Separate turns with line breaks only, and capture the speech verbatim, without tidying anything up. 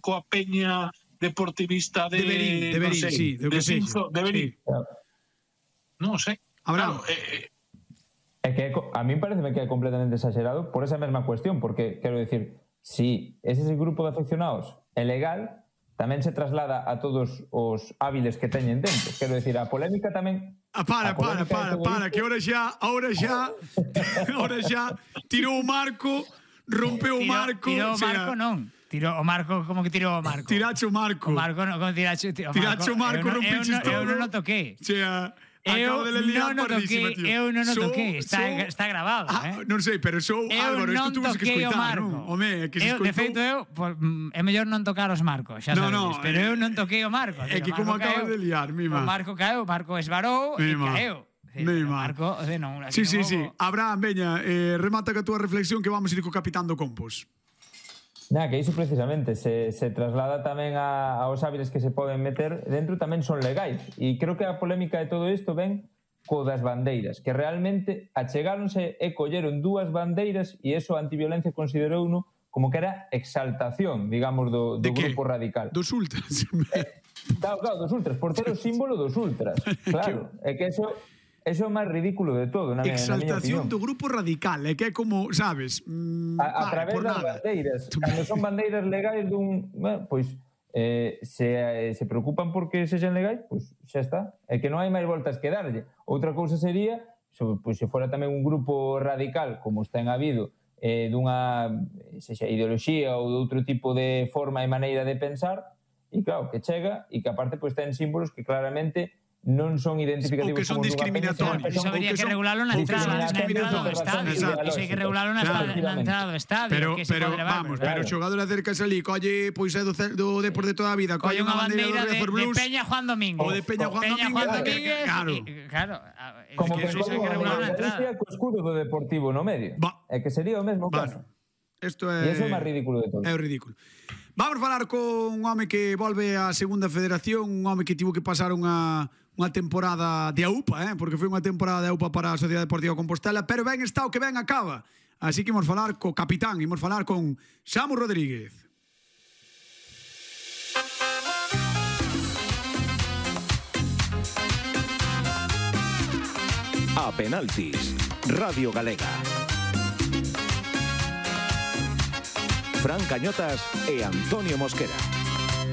coa peña deportivista de...
Deberín, deberín,
no sei,
sí, de
de
que sexa.
Sinzo, deberín.
Sí.
Non sei.
Abraham.
Claro, eh,
É que a mí pareceme que é completamente exagerado por esa mesma cuestión, porque, quero dicir, si ese grupo de afeccionados é legal, tamén se traslada a todos os hábiles que teñen dentro. Quero dicir, a polémica tamén...
Ah, para, para, para, para, que ahora xa, ahora xa, ahora xa tirou o marco, rompeu o marco...
Tirou o marco, non. Tirou o marco, como que tirou o marco?
Tirache o marco.
O marco, non, como tirache o marco.
Tirache o marco, rompiches todo.
Eu non o toquei.
Xa...
Eu non o toquei, eu non o
Sou-
toquei, está,
sou-
está grabado,
Ah,
eh?
non sei, pero sou
Eu
Álvaro, isto
non
tuve que
toquei o
escoitar,
marco.
non? Home, é que se
Eu, de
escoitou...
feito, eu, pues, mm, é mellor non tocar os marcos, xa
No,
sabedes,
no,
pero
eh,
eu non toquei o marco.
é que
o
como
marco
acabas
caeu,
de liar, mima.
O marco caeu, o marco esvarou e
Mima.
caeu. Sí,
Mima.
o marco, de non,
Sí,
así
sí,
non
sí.
vou-
Abraham, veña, eh, remata ca túa reflexión que vamos a ir co capitán do Compos.
Na, que iso precisamente se, se traslada tamén a, aos hábiles que se poden meter dentro, tamén son legais. E creo que a polémica de todo isto ven co das bandeiras, que realmente achegáronse e colleron dúas bandeiras e eso a Antiviolencia considerouno como que era exaltación, digamos, do, do
De que?
grupo radical.
Dos ultras.
Claro, claro, dos ultras, por ter o símbolo dos ultras. Claro, é que eso, eso é o máis ridículo de todo, na, miña- na miña
Exaltación
opinión.
do grupo radical, é que é como, sabes, mm,
A, a
vale,
través
por
das
nada.
bandeiras. Cando son bandeiras legais dun... Bueno, pois, eh, se, eh, se preocupan porque sexan legais, pois xa está. É que non hai máis voltas que darlle. Outra cousa sería, so, pois, se fora tamén un grupo radical, como está en habido, eh, dunha sexa ideoloxía ou de outro tipo de forma e maneira de pensar, e claro, que chega e que aparte pois ten símbolos que claramente non son identificativos
Ou que son
como dunha peña,
discriminatorios.
senón
Eso
que
habría
que
que
son
regularlo na entrada, na
discriminatorios
entrada do
por razóns
estadio. Iso hai que
ideolóxicas.
regularlo na,
Claro.
na entrada do estadio.
Pero,
que se
pero
pode levar,
vamos,
pero-
pero o xogador acercase ali, colle, pois é do, ce- do Depor de toda a vida,
Colle
colle
unha
unha bandeira
bandeira
do
de,
Riazor
de
Blues,
Peña Juan Domínguez.
ou de Peña Juan
Peña Juan
Domínguez,
Domínguez.
claro.
y- Claro. a- es
como
que
que
eso hai que
como
regularlo na
a
entrada.
Galicia co escudo do Deportivo no medio.
Va.
É que sería o mesmo caso.
Bueno, isto é...
E iso é o máis ridículo de todo.
É o ridículo. Vamos falar con un home que volve á segunda federación, un home que tivo que pasar unha, unha temporada de AUPA, eh? Porque foi unha temporada de AUPA para a Sociedade Deportiva Compostela, pero ben está o que ben acaba. Así que imos falar co capitán, imos falar con Samu Rodríguez.
A penaltis, Radio Galega. Fran Cañotas e Antonio Mosquera.